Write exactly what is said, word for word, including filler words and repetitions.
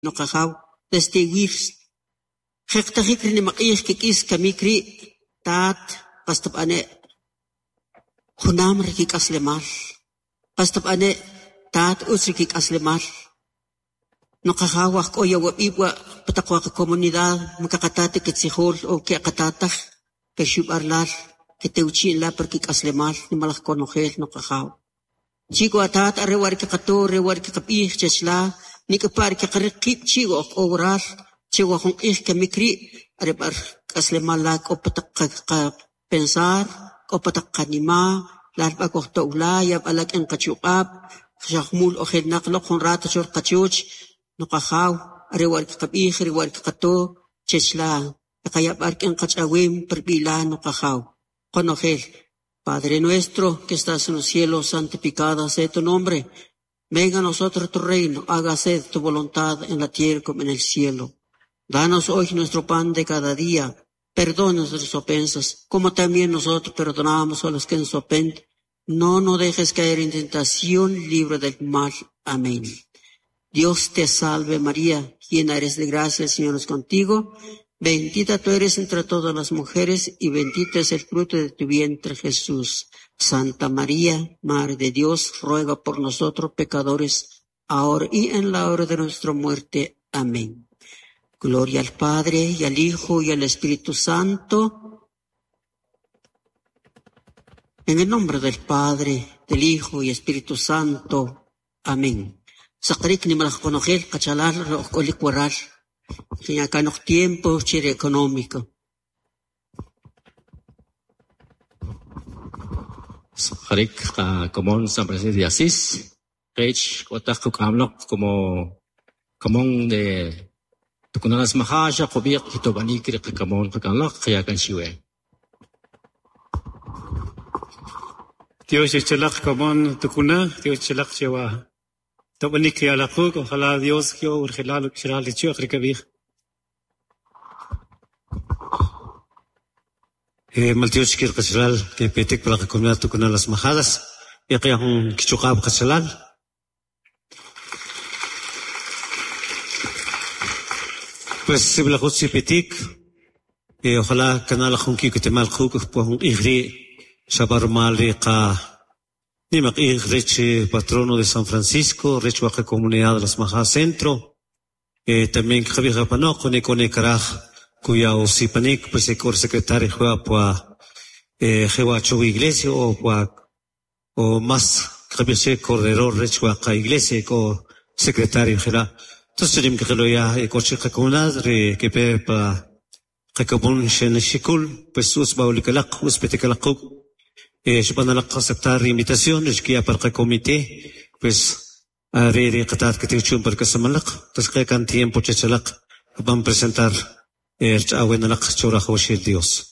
Nuqajaw desde iwir jeqtajik rinimaq'ij kik'is kamik ri' taat qas tab'ane' junam rikik'aslemal qas tab'ane' taat utz rikik'aslemal nuqajaw waj k'o yawab'ib' wa pa taq wa qacomunidad man kaqatata kitzijool o keqatataj per xu' lal ketewchi'n la par kik'aslemal nimalaj konojel nuqajaw chi' wa taat are wa riqaqato are wa riqab'ij chech la nik'pa' riqariq qib' chi' wa oj k'o waral che wa jun q'ij kamik rii' are b'ar k'aslemal la k'o pa taq qapensar k'o pa taq qanima' lal b'a kojto'w la yab'a la k'in qachuq'ab' xa jumul oj elnaq loq jun rato cho qachoch nuqajaw are wa riqab'ij are wa riqato chech la qaya' b'a rik'in qach'awem par b'i' la nuqajaw qonojel Padre nuestro que estás en los cielos, santificado sea tu nombre. Venga a nosotros tu reino, hágase tu voluntad en la tierra como en el cielo. Danos hoy nuestro pan de cada día. Perdona nuestras ofensas, como también nosotros perdonamos a los que nos ofenden. No nos dejes caer en tentación, libre del mal. Amén. Dios te salve María, llena eres de gracia, el Señor es contigo. Bendita tú eres entre todas las mujeres y bendito es el fruto de tu vientre Jesús. Santa María, Madre de Dios, ruega por nosotros pecadores, ahora y en la hora de nuestra muerte. Amén. Gloria al Padre y al Hijo y al Espíritu Santo. En el nombre del Padre, del Hijo y Espíritu Santo. Amén. Saqarik nimalaj qonojel qachalal ro'j k'olik waral. Kanoj tiempo chire económico. Saqarik komon San Francisco de Asís. Rech k'otaj kuk'amloq como komon de Tukunalas Majaxa qub'iq kitob'anik riqakamon qakanloq qiyakan xiwe. Dios echelaq komon tukuna, Dios echelaq chewa. Tob'anik yalaquk, ojalá Dios kyo urgelal ukxeral lichuaq rikab'ij. Eh, maltioch kir qachalal que petek para la comunidad Tucuna Las Majadas y que un kichuqab qachalal. Pues sibla jutsi petik, eh, ojalá kanal jun kikutemal juk pues un ijri shabarmal qa nimaq ij rech patrono de San Francisco, rech waqa comunidad de Las Majadas Centro, eh, también kjabija panoq ni kone karaj cuya osipanik pues el secretario juega pa eh jewa chu iglesia o pa o más kjabije cordero rech waqa iglesia ko secretario jera. Entonces rim que lo ya coche comunidad re que pe pa qakabun shen shikul pues us baulikalaq us petikalaq eh shpanalaq aceptar invitación es que ya para el comité pues re re qatat que tichun para kasamalaq entonces que kan tiempo chechalaq van presentar el chawenalaq chora Dios.